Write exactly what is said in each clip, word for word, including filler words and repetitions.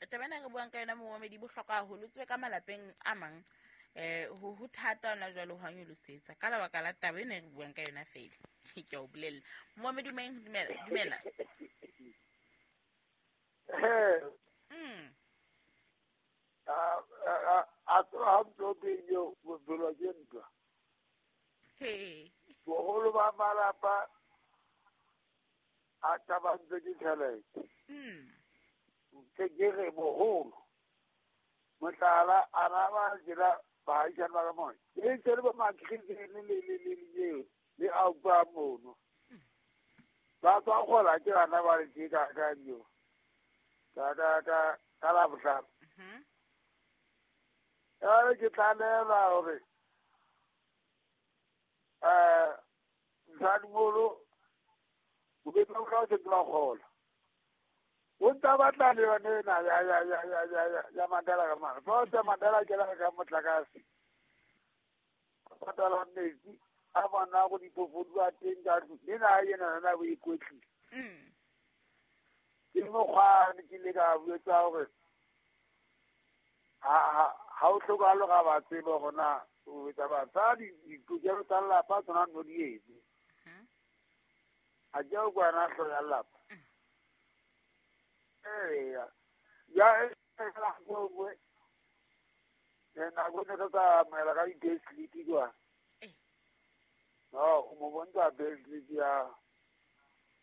Taba ena re buang ka yona momamedi bohlokwa haholo. O tsebe ka malapeng a mang eh ho ho thata hona jwale ho nyolosetsa ka lebaka la taba ena re buang ka yona fela. Ke a o bolella. Momamedi meng dumela dumela. Mm. A a a tsoha mtlo yo bophelo ke ntwa. He. Boholo ba malapa a tabantse ke tjhelete. Mm. Ke ke re boholo. Mohlala a na ba jela baahisane ba ka mona. E ntse le bo makristene le le le le le a utlwa mono. Ba tswa kgola ke bana ba le tje ka ka yo. Ka ka ka ka la bohlano. Mhm. Ya ke tlalela hore eh msadimolo o be ba ka se tla kgola. O ntsa batla le yone ena ya ya ya ya ya ya ya Mandela ka mara. Fa o tsa Mandela ke la ka motlakase. Patala metsi a bona go diphofu a teng ka tlung. Le na yena na bo ikwetlile. Mm. Ke mokgwa ke le ka botsa hore ha ha ha o hlokahalo ga ba tsebe gona o etsa basadi ditokelo tsa lelapa tsona no di etse. Mhm. A ke o kwana hloho ya lelapa. Eya. Ya e la go go. Nako ne re tsa amohela ka di-payslip kwa. Eh. No, o mo bontsha payslip ya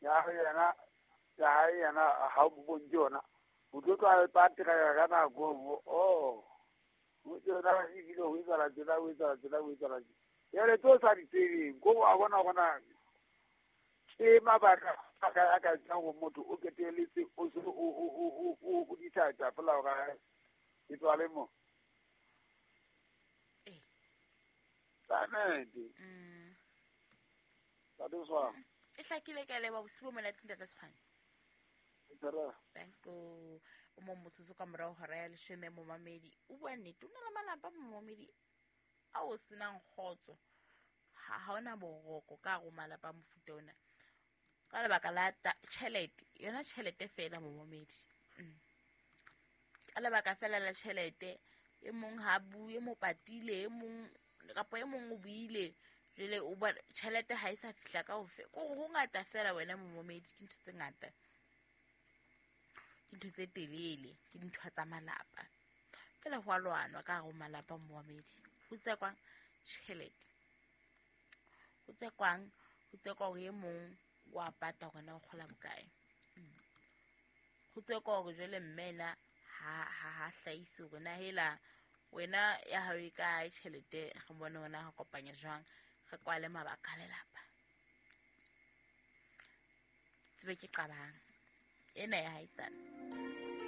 ya yena ya hae yena ha o mo bontshe yona. O tlo tla e patela ka nako e nngwe. Oh. O tsena ebile ho etsahala tjena, ho etsahala tjena, ho etsahala tjena. Jwale tse o sa di tsebeng, ko wa bona hore ke mabaka a ka a ka etsang hore motho o qetelletse o se o o o o o o decide fela hore ke tswale mo. Eh. Kannete. Mm. Ntate Tshwane. E hlakile ka leba bosibu bo monate ntate Tshwane. Tara. Thank you. O mo motsotso ka morao hora ya leshome momamedi. O bua nnete, o na le malapa momamedi a o senang kgotso. Ha ha ona boroko ka hare ho malapa a mofuta ona. Ka lebaka la tjhelete, yona tjhelete fela momamedi. Mm. Ka lebaka fela la tjhelete, e mong ha bue, mo patile, e mong kapa e mong o buile. Jwale o bona tjhelete ha e sa fihla kaofela. Ko ho ngata fela wena momamedi, ke ntho tse ngata. Ke ntho tse telele, ke dintho tsa malapa. Fela ho a lwanwa ka hare ho malapa momamedi. Ho tsekwang tjhelete. Ho tsekwang, ho tsekwa hore e mong wa pata hore na o kgola bokae. Mm. Ho tsekwa hore jwale mme ena ha ha ha hlahise hore na hela wena ya hao e kae tjhelete, re bone hore na re kopanya jwang, re kwale mabaka a lelapa. Tsebe ke qabang ena ya haesale.